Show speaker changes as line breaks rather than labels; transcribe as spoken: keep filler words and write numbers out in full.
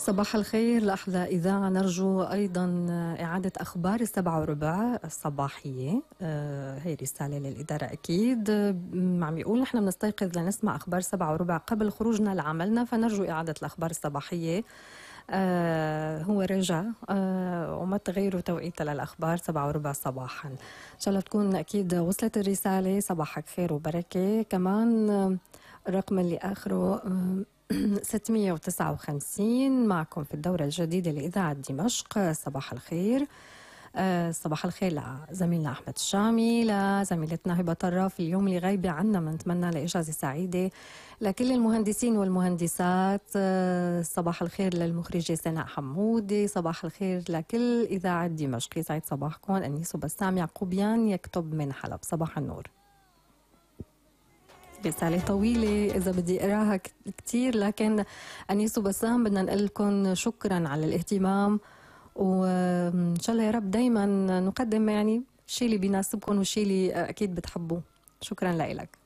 صباح الخير لأحلى إذاعة. نرجو أيضا إعادة أخبار السبعة وربع الصباحية. آه هي رسالة للإدارة أكيد. عم يقول نحن بنستيقظ لنسمع أخبار سبعة وربع قبل خروجنا لعملنا، فنرجو إعادة الأخبار الصباحية. آه هو رجع آه وما تغيروا توقيتها للأخبار سبعة وربع صباحا. إن شاء الله تكون أكيد وصلت الرسالة. صباحك خير وبركة. كمان آه الرقم اللي آخره آه ستمية وتسعة وخمسين معكم في الدورة الجديدة لإذاعة دمشق. صباح الخير. أه صباح الخير لزميلنا أحمد الشامي، لزميلتنا هبة طراف اليوم اللي غايبة عنا، بنتمنى لإجازة سعيدة لكل المهندسين والمهندسات. أه صباح الخير للمخرجة سناء حمودي. صباح الخير لكل إذاعة دمشق. يسعد صباحكم. أنيس وبسام يعقوبيان يكتب من حلب. صباح النور. رسالة طويلة إذا بدي أقراها كتير، لكن أنيس وبسام بدنا نقول لكم شكرا على الاهتمام، وإن شاء الله يا رب دايما نقدم يعني الشيء اللي بيناسبكم والشيء اللي أكيد بتحبوه. شكرا لك.